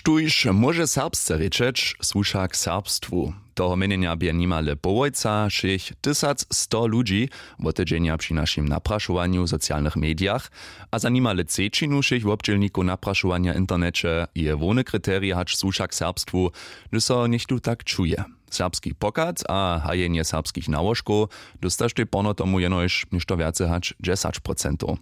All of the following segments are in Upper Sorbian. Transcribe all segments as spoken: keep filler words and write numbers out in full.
Štóž móže serbsce rěčeć, słuša k serbstwu. Toho měnjenja bě nimale połojca, šěch tysac sto ludźi, wotedźenja při našim naprašowanju w socialnych medijach. A za nimale třećinu wšěch wobdźělnikow naprašowanja w interneće je hłowne kriterij hač słuša k serbstwu, hdyž so něchtó tak čuje. Serbski pochad a hajenje serbskich nałožkow dóstaštej porno tomu jenož něšto wjace hač dźesać procentow.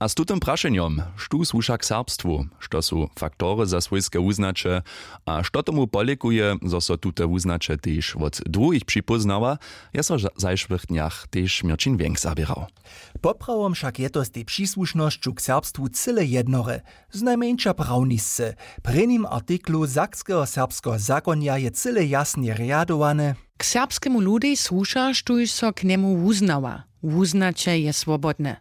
A z tutym prašenjom, štó słuša k serbstwu, što su faktory za swójske wuznaće, a što tomu polěkuje, zo so tute wuznaće tež wot druhich připóznawa, je so w zajšłych dnjach tež měrćin wjenk zaběrał. Poprawom wšak je to z tej přisłušnosću k serbstwu cyle jednore, znajmjeńša prawnisce. W prěnim artiklu sakskeho serbskeho zakonja je cyle jasnje rjadowane. K serbskemu ludej słuša, štóž so k njemu wuznawa. Wuznaće je swobodne.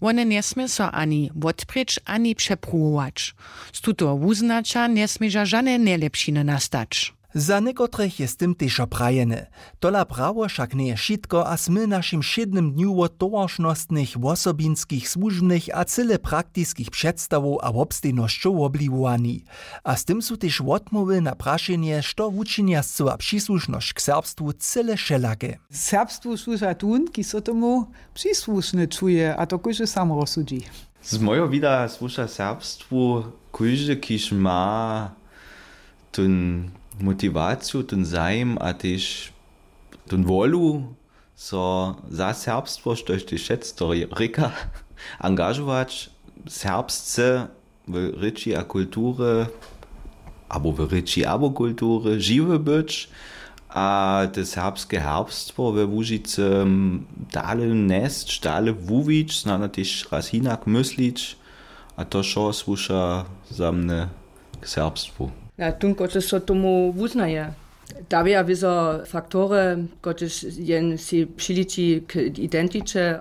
Wone njesmě so ani wotprěć, ani přepruwować. Z tutoho wuznaća njesměža žane njelěpšiny nastać. Za někotrych je z tym tež prajene. Tola prawo wšak njeje wšitko a smy w našim wšědnym dnju wot towaršnostnych, wosobinskich, słužbnych a cyle praktiskich předstawow a wobstejnosćow wobliwowani. A z tym su tež wotmołwy na prašenje, što wučinja scyła přisłušnosć k serbstwu, cyle wšelake. Serbstwu słuža tón, kiž so tomu přisłušny čuje, a to kóždy sam rozsudźi. Z mojeho wida słuša serbstwu kóždy, kiž ma tón motiwaciju, tón zajim a tež tón wolu, so za serbstwo, štož tež šec to rěka, angažować, serbsce w rěči a kulturje abo w rěči abo kulturje žiwy być a te serbske herbstwo we Łužicy dale njesć, dale wuwić, snano tež raz hinak myslić. A to wšo słuša za mnje k serbstwu. Na tón, kotryž so tomu wuznaje. Dawja wězo faktory, kotryž jen sej přiliči k identiće.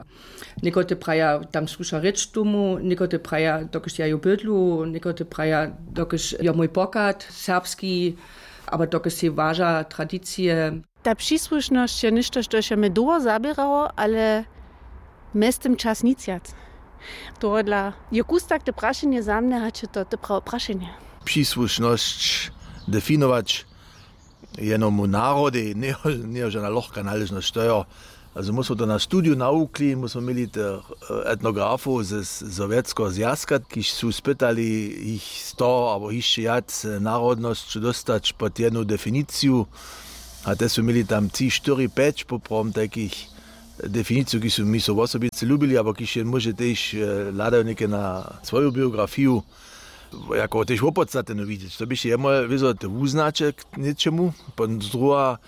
Někotre praja, tam słuša rěč tomu, někotre praja, dokelž ja ju bydlu, někotre praja, dokelž jo mój pochad serbski, abo dokelž sej waža tradicije. Ta přisłušnosć je něšto, štož je mje dołho zaběrało, ale mjeztym čas nic wjac. Tohodla je kustak te prašenje za mnje, hač je to te prawe prašenje. Přisłušnosć definować jenomu narodej njejo žana lochka naležnosć, to jo. Also my smo to na studiju nawukli, my smo měli tych etnografow ze sowjetskeho zwjazka, kiž su spytali jich sto abo hišće wjac narodnosć dóstać pod jednu definiciju. A te su měli tam tři, štyri, pjeć poprawom tajkich definiciju, kiž su mi so wosobice lubili abo kiž jen móže tež hladajo něke na swoju biografiju jako tež wopodstatnjenu widźeć. To běše jemoj wězo te wuznaće k něčemu, potom druha,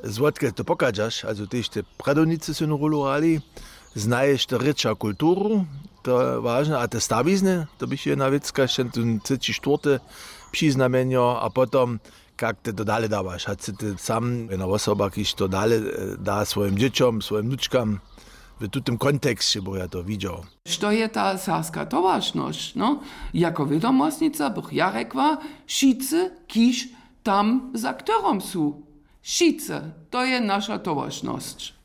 zwotke to pochadźaš, also tež te prjadownicy su jednu rólu hrali. Znaješ to rěča kulturu, to je wažne, a te stawizny, to běše jedna wěcka, šćen tón třeći, štwórty přiznamjenjo, a potom kak te to dale dawaš, hač sy ty sam jedna wosoba, kiž to dale da swojim dźěćom, swojim wnučkam. W tutym konteksće bych ja to widźał. Što je ta serbska towaršnosć? No, jako wědomostnica bych ja rjekła, wšitcy, kiž tam za chtorom su. Wšitcy, to je naša towaršnosć.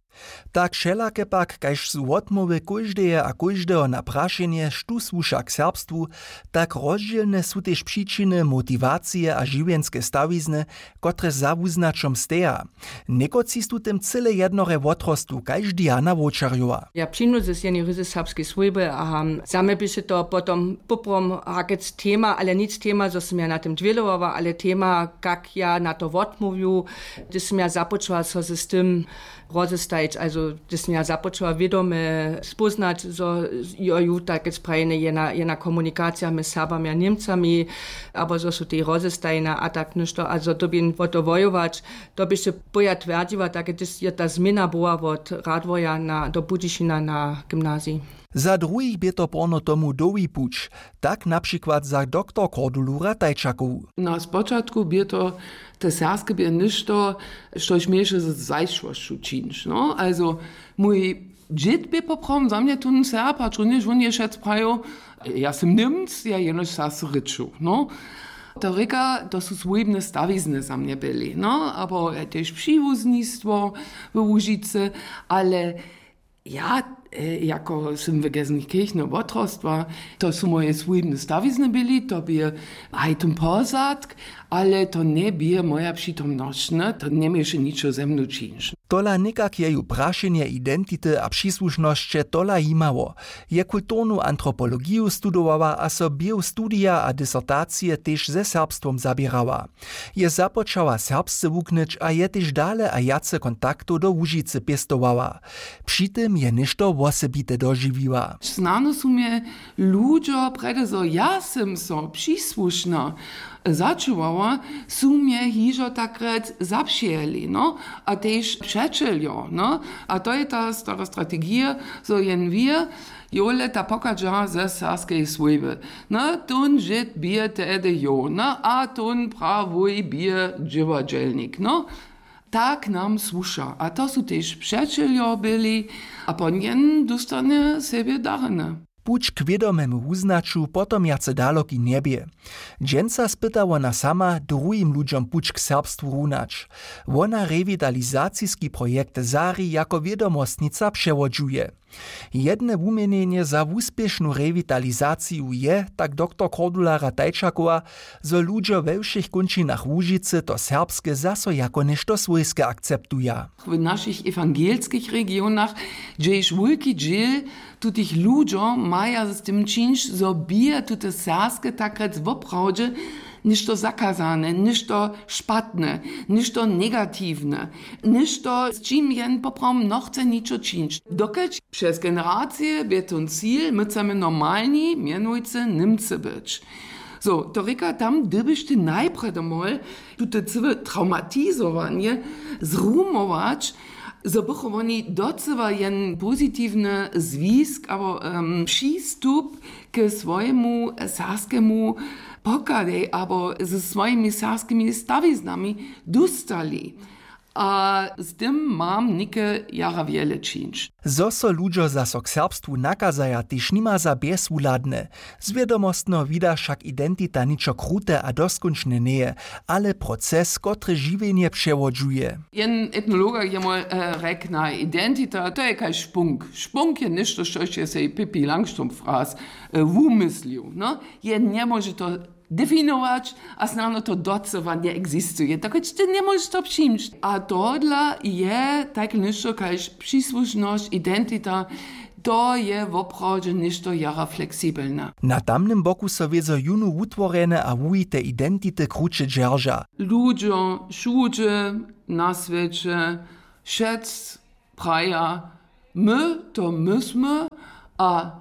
Tak wšelake pak, kaž su wotmołwy kóždeje a kóždeho na prašenje, štó słuša k serbstwu, tak rozdźělne su tež přičiny, motiwacije a žiwjenske stawizny, kotrež za wuznaćom steja. Někotřiž su tym cyle jednore wotrostu, kaž Diana Wowčerjowa. Ja přińdu z jednej ryzy serbskej swójby a za mnje běše to potom poprawom hakec tema, ale nic tema, zo sym ja na tym dwělowała, ale tema, kak ja na to wotmołwju, hdyž sym ja započała so z tym rozestajić, also hdyž sym ja započała wědome spóznać, zo jo ju takec prajene jedna, jedna komunikacija mjez Serbami a Němcami, abo zo su tej rozestajene a tak něšto, a zo dyrbjeń wo to wojować, to běše poja twjerdźiła, tak hdyž je ta změna była wot Radworja na, do Budyšina na gymnazij. Za druhich bě to porno tomu dołhi puć, tak na přikład za doktor Cordulu Ratajčakowu. Na spočatku bě to, te serbske bě něšto, štož měješe z zajšłosću čińć. No, also mój dźěd bě poprawom za mnje tón Serb, hač runjež wón je wšec prajił, ja sym Němc, ja jenož serbsce rěču. No. To rěka, to su swójbne stawizny za mnje byli. No, abo tež přiwuzlistwo w Łužicy, ale ja Jako sym w Gelsenkirchno wotrostła, to su moje swójbne stawizny byli, to bě haj tón pozadk, ale to njebě moja přitomnosć, ne, to njemješe ničo ze mnu čińć. Tola někak je ju prašenje identity a přisłušnosće tola jimało. Je kulturnu antropologiju studowała a so běh studija a disertacije tež ze serbstwom zaběrała. Je započała serbsce wuknyć a je tež dale a wjace kontaktow do Łužicy pěstowała. Při tym je něšto wosebite dožiwiła. Snano su mje ludźo, prjedy zo ja sym so přisłušna začuwała, su mje hižo takrjec zapřijeli, no, a tež přećeljo, no. A to je ta stara strategija, zo jen wir, jole ta pochadźa ze serbskeje swójby. No, tón žyd bě tehdy jo, no, a tón prawuj bě dźěładźelnik, no. Tak nam słuša. A to su tež přećeljo byli a ponjen dóstanje sebje darjene. Puć k wědomemu wuznaću potom wjace daloki njebě. Dźensa spyta wona sama druhim ludźom puć k serbstwu runać. Wona rewitalizaciski projekt Zari jako wědomostnica přewodźuje. Jedne wuměnjenje za wuspěšnu rewitalizaciju je, tak doktor Kordulara Tajčakowa, zo ludźo we wšěch kónčinach Łužicy to serbske zaso jako něšto swójske akceptuja. W našich ewangelskich regionach, hdźež wulki dźěl tutych ludźo maja z tym čińć, zo bě tute serbske takrjec woprawdźe něšto zakazane, něšto špatne, něšto negatiwne, něšto, z čim jen poprawom nochce ničo čińć. Dokelž přez generacije bě tón cil, my chcemy normalni, mjenujcy Němcy być. So, to rěka, tam dyrbiš ty najprjedy mol tute cyłe traumatizowanje zrumować, zo bychu woni docyła jen pozitiwny zwisk abo, em, přistup k swojemu serbskemu pochadej abo ze swojimi serbskimi stawiznami dóstali. A z tym mam něke jara wjele čińć. Zo so ludźo zaso k serbstwu nakazaja, tež nima za bjezwuhladne. Zwědomostno wida wšak identita ničo krute a doskónčne njeje, ale proces, kotryž žiwjenje přewodźuje. Jen etnologa je mój, e, rjekna, identita, to je kaž špunk. Špunk je něšto, štož je sej Pippi Langstrumpf raz, e, wumyslił, no. Je njemóže to definować, a snano to docyła njeegzistuje. Tak ty njemóžeš to přińć. A tohodla je tak něšto kaž přisłušnosć, identita, to je woprawdźe něšto jara fleksibelne. Na tamnym boku so wězo jónu wutworjene a wuhite identity kruće dźerža. Ludźo wšudźe na swěće, wšec praja, my to my smy, a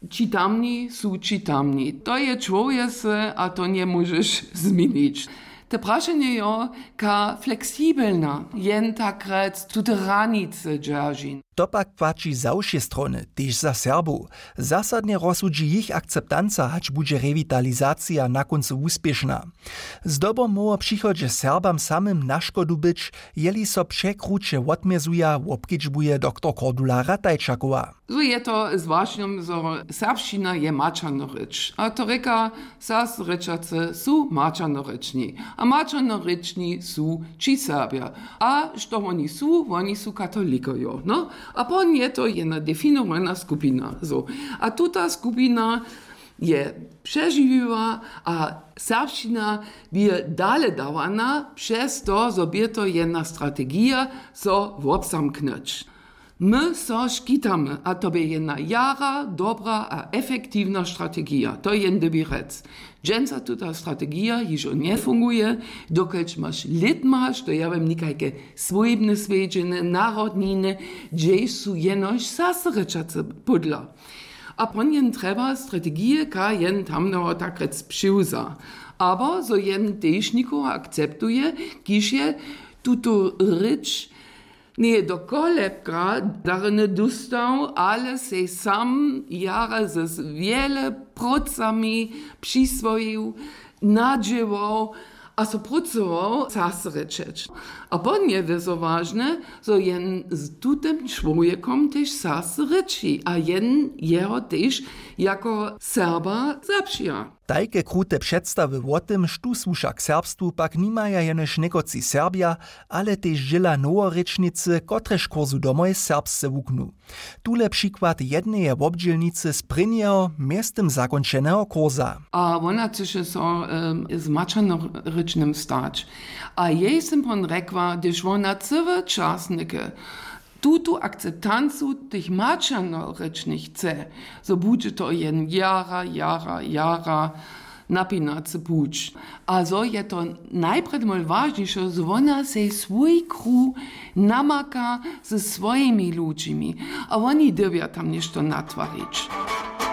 ći tamni su ći tamni. To je čłowjese a to njemóžeš změnić. Te prašenje jo, ka fleksibelna jen takrjec tute hranice dźeržin. To pak płaći za wšě strony, tež za Serbow. Zasadnje rozsudźi jich akceptanca, hač budźe rewitalizacija na kóncu wuspěšna. Zdobom móhło w přichodźe Serbam samym na škodu być, jeli so překruće wotmězuja, wobkedźbuje doktor Kordulara Tajčakowa. Zo je to z wašnjom, zo serbšćina je maćerna rěč. A to rěka, serbsce rěčace su maćernorěčni. A maćernorěčni su ći Serbja. A što woni su? Woni su katolikojo. No? A pon je to jedna definowana skupina. Zo. A tuta skupina je přežiwiła a serbšćina bě dale dawana přez to, zo bě to jedna strategija, so wobzamknyć. My so škitamy, a to bě jedna jara dobra a efektiwna strategija. To je jen dyrbje rjec. Dźensa tuta strategija hižo njefunguje, dokelž maš lětma, što ja wěm, někajke swójbne swjedźeny, narodniny, hdźež su jenož serbsce rěčace pódla. A pon jen trjeba strategije, ka jen tamneho takrjec přiwza. Abo zo jen tež někoho akceptuje, kiž je tutu rěč njeje do kolebka darjene dóstał, ale sej sam jara z wjele prócami přiswojił, nadźěłał A so prócował serbsce rěčeć. A po nje wězo wažne, zo jen z tutym čłowjekom tež serbsce rěči a jen jeho tež jako serba zapřija. Tajke krute předstawy wo tym štó słuša k serbstwu pak nimaja jenož někotři serbja, ale tež dźěla noworěčnicy kotrež kursu domoj serbsce wuknu. Tule přikład jedneje wobdźělnicy z prěnjeho mjeztym zakónčeneho kursa. A wona chcyše so z maćernorěčnym stać. A jej sym pon rjekła hdyž wona cyły čas něke tutu akceptancu tych maćernorěčnych chce, zo budźe to jen jara jara jara napinacy puć. A zo je to najprjedy mol wažniše zo wona sej swój kruh namaka ze swójimi ludźimi, a woni dyrbja tam něšto natwarić.